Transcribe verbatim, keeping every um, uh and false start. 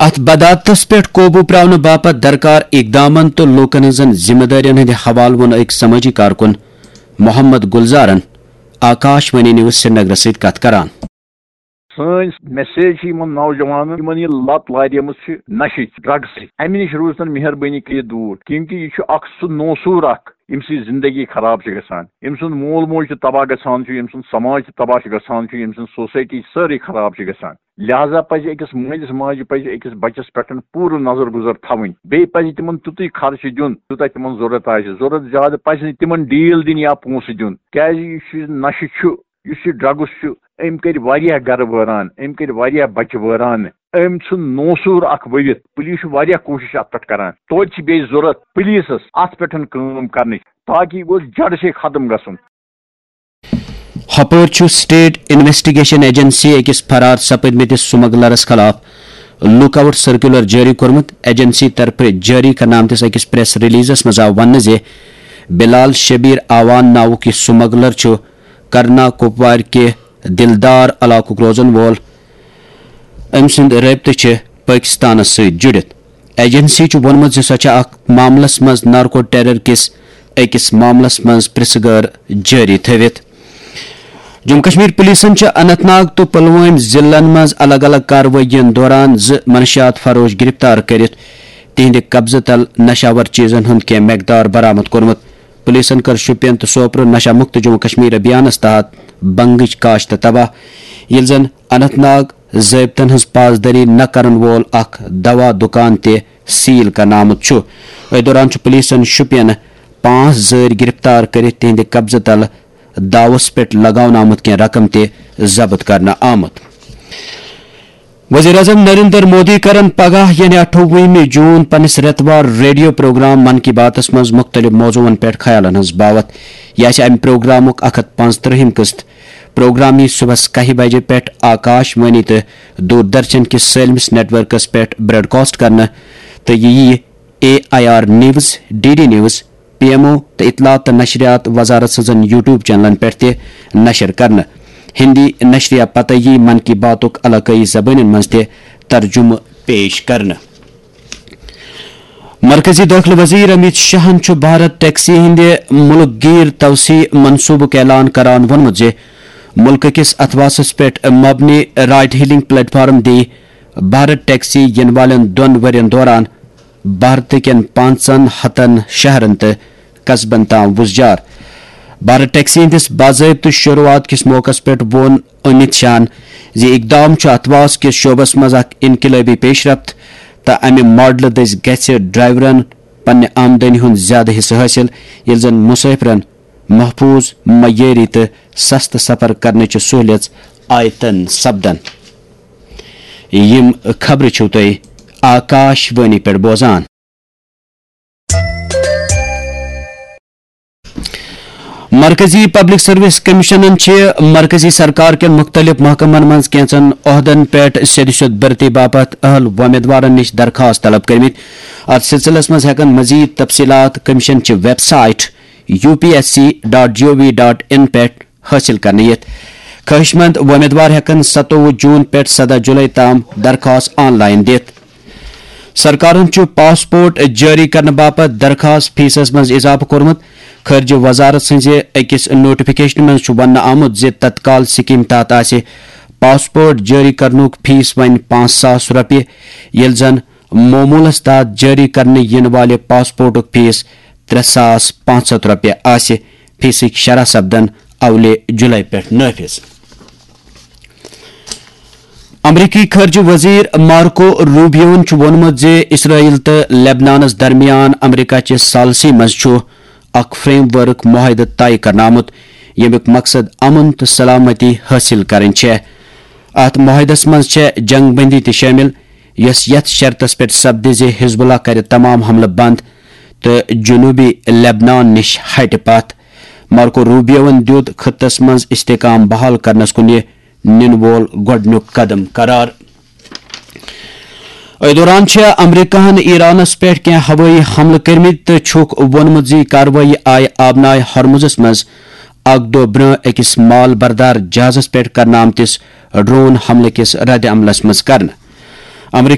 اتھ بدعتس پٮ۪ٹھ قوبو پراونہٕ باپتھ درکار اقدامن تہٕ لوٗکن ہٕنٛزن ذمہٕ دٲرین ہٕنٛدِ حوالہٕ ووٚن أکۍ سمٲجی کارکُن محمد گلزارن آکاش وانی نیوز سرینگرس سۭتۍ کتھ کران۔ سٲنۍ میسیج چھِ یِمن نوجوانن، یِمن یہِ لت لاریمٕژ چھِ نشہِ، ڈرگس سۭتۍ، امہِ نِش روٗزتن مہربٲنی کٔرِتھ دوٗر، کیونکہ یہِ چھُ اکھ سُہ نوسوٗر اکھ، ییٚمہِ سۭتۍ زندگی خراب چھِ گژھان، ییٚمہِ سُنٛد مول موج تہِ تباہ گژھان چھُ، ییٚمہِ سُنٛد سماج تہِ تباہ چھُ گژھان چھُ، ییٚمہِ سٕنٛز سوسایٹی چھِ سٲرٕے خراب چھِ گژھان۔ لہذا پزِ أکِس مٲلِس ماجہِ پزِ أکِس بچس پٮ۪ٹھ پوٗرٕ نظر گُزر تھاوٕنۍ۔ بیٚیہِ پزِ تِمن تیُتُے خرچہٕ دیُن، یوٗتاہ تِمن ضروٗرت آسہِ۔ ضروٗرت زیادٕ پزِ نہٕ تِمن ڈیٖل دِنۍ یا پونٛسہٕ دیُن، کیازِ یُس یہِ نشہٕ چھُ، یُس یہِ ڈرگس چھُ، أمۍ کٔرۍ واریاہ گرٕ وٲران، أمۍ کٔرۍ واریاہ بچہِ وٲران۔ أمۍ ژھُن نوسوٗر اکھ ؤوِتھ۔ پُلیٖس چھُ واریاہ کوٗشِش اتھ پٮ۪ٹھ کران۔ توتہِ چھِ بیٚیہِ ضروٗرت پُلیٖسس اتھ پٮ۪ٹھ کٲم کرنٕچ، تاکہ یہِ گوٚژھ جڑ سے ختم گژھُن۔ ہپٲرۍ چھُ سٹیٹ انویسٹیگیشن ایجنسی أکِس فرار سپٕدمٕتِس سمگلرس خلاف لک آؤٹ سرکولر جٲری کوٚرمُت۔ ایجنسی طرفہٕ جٲری کرنہٕ آمتِس أکِس پریس ریلیزس منٛز آو وننہٕ زِ بلال شبیر آوان ناوُک یہِ سمگلر چھُ کرنا کوپوارِ کہِ دلدار علاقُک روزن وول۔ أمۍ سٕنٛدۍ رٲبطہٕ چھِ پٲکِستانَس سۭتۍ جُڑِتھ۔ ایجنسی چھُ ووٚنمُت زِ سۄ چھےٚ اَتھ معاملَس منٛز نارکو ٹیرر کِس أکِس معاملَس منٛز پرٛژھٕ گٲر جٲری تھٲوِتھ۔ جموں کشمیر پُلیٖسَن چھِ اننت ناگ تہٕ پلوٲمۍ ضلعن منٛز الگ الگ کاروٲیین دوران زٕ منشیات فروش گرفتار کٔرِتھ تِہنٛدِ قبضہٕ تل نشاور چیزن ہُنٛد کینٛہہ مقدار برآمد کوٚرمُت۔ پُلیٖسَن کٔر شوپین تہٕ سوپرٕ نشہ مُکت جموں کشمیر ابھیانَس تحت بنگٕچ کاشت تباہ، ییٚلہِ زن اننت ناگ ضٲبطن ہٕنٛز پاسدٲری نہ کرن وول اکھ دوا دُکان تہِ سیل کرنہٕ آمُت چھُ۔ أتھۍ دوران چھُ پُلیٖسَن شوپینہٕ پانٛژھ زٲرۍ گرفتار کٔرِتھ تِہنٛدِ قبضہٕ تلہٕ داوَس پٮ۪ٹھ لگاونہٕ آمُت کینٛہہ رقم تہِ ضبط کرنہٕ آمُت۔ وزیر اعظم نریندر مودی کرن پگاہ یعنی اٹھووُہمہِ جون پننِس رٮ۪توار ریڈیو پروگرام من کی باتس منٛز مُختٔلِف موضوعن پٮ۪ٹھ خیالن ہٕنٛز باوتھ۔ یہِ آسہِ امہِ پروگرامُک اکھ ہتھ پانٛژترٕہِم قسط۔ پروگرام یی صبحس کاہہِ بجہِ پٮ۪ٹھ آکاش وانی تہٕ دوردرشن کِس سٲلمِس نیٹ ورکس پٮ۪ٹھ براڈکاسٹ کرنہٕ تہٕ یہِ یِیہِ A I R news, D D news, P M O تہٕ اطلاعات تہٕ نشریات وزارت سٕنٛزن یوٹیوب چینلن پٮ۪ٹھ تہِ نشر کرنہٕ۔ ہندی نشریہ پتہٕ یی من کی باتُک علاقٲیی زبٲنٮ۪ن منٛز تہِ ترجمہٕ پیش کرنہٕ۔ مرکزی دٲخلہٕ وزیر امیت شاہن چھُ بھارت ٹیکسی ہٕنٛدِ مُلک گیر توسیع منصوبُک اعلان کران ووٚنمُت زِ مُلکہٕ کِس اتھواسس پٮ۪ٹھ مبنی رائٹ ہیلنگ پلیٹ فارم دی بھارت ٹیکسی یِنہٕ والٮ۪ن دۄن ؤرین دوران بھارت کٮ۪ن پانٛژن ہتن شہرن تہٕ قصبن تام وُزجار۔ بھارت ٹیکسی ہٕنٛدِس باضٲبطہٕ شروعات کِس موقعس پٮ۪ٹھ ووٚن امیت شاہن زِ اقدام چھُ اتھواس کِس شعبس منٛز اکھ انقلٲبی پیش رفت تہٕ امہِ ماڈلہٕ دٔسۍ گژھِ ڈرائیورن پننہِ آمدنی ہُنٛد زیادٕ حصہٕ حٲصِل، ییٚلہِ زن مسافرن محفوظ، معیٲری تہٕ سستہٕ سفر کرنٕچہِ سہولیژ آیتن سپدن۔ یِم خبرٕ چھِو تُہۍ آکاش وانی پٮ۪ٹھ بوزان۔ مرکزی پبلک سروس کمیشنن چھِ مرکزی سرکار کٮ۪ن مُختٔلِف محکمن منٛز کینٛژن عہدن پٮ۪ٹھ سیٚدِ سیوٚد بھرتی باپتھ اہل وۄمیدوارن نِش درخواست طلب کٔرمٕتۍ۔ اتھ سلسلس منٛز ہٮ۪کن مزید تفصیلات کمیشن چہِ website U P S C dot G O V dot in پٮ۪ٹھ حٲصِل کرنہٕ یِتھ۔ خٲہِش مند وۄمیدوار ہٮ۪کن ستووُہ جون پٮ۪ٹھ سداہ جولائی تام درخواست آن لائن دِتھ۔ سرکارن چھُ پاسپورٹ جٲری کرنہٕ باپتھ درخواست فیسس منٛز اضافہٕ کوٚرمُت۔ خارجہ وزارت سٕنٛزِ أکِس نوٹیفکیشنہِ منٛز چھُ وننہٕ آمُت زِ تتکال سکیٖم تحت آسہِ پاسپورٹ جٲری کرنُک فیس وۄنۍ پانٛژھ ساس رۄپیہِ، ییٚلہِ زن معموٗلس تحت جٲری کرنہٕ یِنہٕ والہِ پاسپورٹُک فیس ترٛےٚ ساس پانٛژھ ہتھ رۄپیہِ آسہِ۔ فیسٕکۍ شرح سپدن اولہِ جولائی پٮ۪ٹھ نافذ۔ امریکی خارجہ وزیر مارکو روبیوَن چھُ ووٚنمُت زِ اسرائیل تہٕ لبنانَس درمیان امریکہ چہِ ثالثی منٛز چھُ اکھ فریم ورک معاہدٕ طے کرنہٕ آمُت، ییٚمیُک مقصد امن تہٕ سلامتی حٲصِل کرٕنۍ چھےٚ۔ اتھ معاہدس منٛز چھےٚ جنگ بندی تہِ شٲمِل، یۄس یتھ شرطس پٮ۪ٹھ سپدِ زِ حزب اللہ کرِ تمام حملہٕ بند تہٕ جنوبی لبنان نِش ہٹہِ پتھ۔ مارکو روبیوَن دیُت خطس منٛز استحکام بحال کرنس کُن یہِ نِنہٕ وول گۄڈٕنیُک قدم قرار۔ أتھۍ دوران چھےٚ امریکہَن ایرانَس پٮ۪ٹھ کینٛہہ ہوٲیی حملہٕ کٔرمٕتۍ تہٕ چھُکھ ووٚنمُت زِ یہِ کاروٲیی آیہِ آبنائے ہرمزس منٛز اکھ دۄہ برٛونٛہہ أکِس مال بردار جہازَس پٮ۪ٹھ کرنہٕ آمتِس ڈرون حملہٕ کِس رد عملَس منٛز کرنہٕ۔ امریکی